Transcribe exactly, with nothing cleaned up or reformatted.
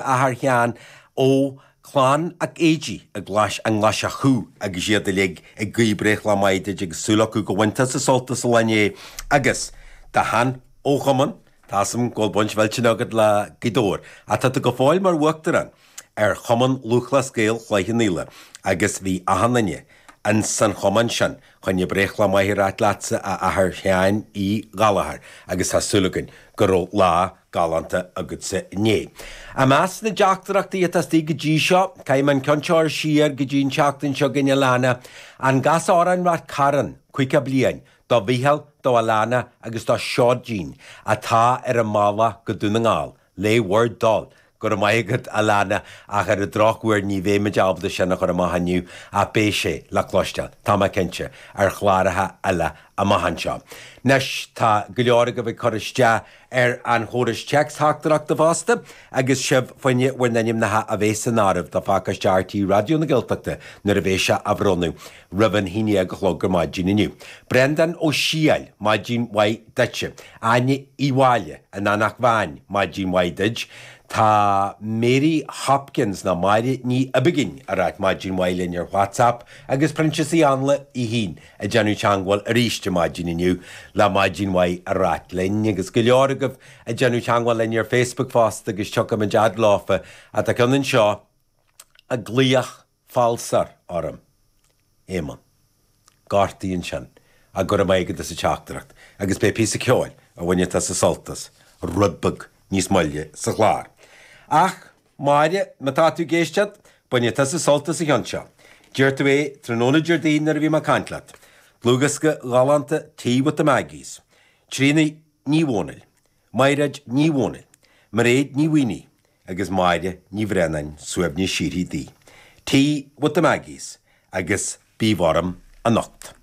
Athair Sheáin ó Chlann 'ac Éidí i nGlais an nGlaiseach Chú agus iad uilig ag guí breithlá maith duit agus súil acu go mbain tusa sult as an lá inné agus do shean ó chumann, tá 'fhios a'm go bhfuil baint mhillteanach agat le Gaoth Dobhair ach tá tú go fóill mar uachtarán ar Chumann Lúthchleas Gael Chloich Cheann Fhaola agus bhí achan duine ins an chumann sin chun breithlá maith a ráit leatsa a Athair Sheáin Uí Ghallchóir agus tá súil againn go raibh lá galánta agatsa inné. I measc na dteachtaireachtaí atá istigh go dtí seo, caithfidh mé an ceann seo siar go dtí an tseachtain seo chugainn a leana, an gcas amhrán Rath Cairn, caoga bliain, do Mhícheál, do Alana agus do Seoidín atá ar an mbealach go Dún na nGall, le bhur dtoil. Go raibh maith agat Alana ach ar an drochuair ní bheimid ábalta sin a chur amach inniu ach beidh sé le cloisteáil, tá mé cinnte, ar chláracha eile amach anseo. Anois tá go leor agaibh ag cur isteach ar an chóras téacs-theachtaireachta fosta agus sibh fá choinne bhur n-ainmneacha a bheith san áireamh do phacáiste RTÉ Raidió na Gaeltachta nuair a bheidh sé á bhronnadh roimh an haon déag a chlog ar maidin inniu. Breandán Ó Siáil, maidin mhaith duitse. Áine Uí Mháille, an Eanach Mheáin, maidin mhaith duit. Tá Mary Hopkins ná Máire Ní Oibiginn ag ráit maidin mhaith linn ar WhatsApp agus Proinsias Uí Anla í féin ag déanamh teagmháil arís ar maidin inniu le maidin mhaith a ráit linn agus go leor agaibh ag déanamh teagmháil linn ar Facebook fosta agus tiocfaimid fhad leofa atá ceann anseo ag glaoch falsar orm. Éamonn. Gortaíonn sin a go raibh maith agat as an teachtaireacht agus beidh píosa ceoil a bhainfidh tusa sult as rud beag níos moille sa chlár. Ach Máire, má tá tú ag éisteacht, bainfidh tusa sult as an cheann seo. D'iarr tú é tráthnóna Déardaoin nuair a bhí mé ag caint leat. Dlúthdhiosca galánta Tea with the Maggies. Tríona Ní Dhomhnaill, Maighread Ní Dhomhnaill, Mairéad Ní Mhaonaigh agus Máire Ní Bhraonáin suaimhneas síoraí di. Tea with the Maggies agus bí orm anocht.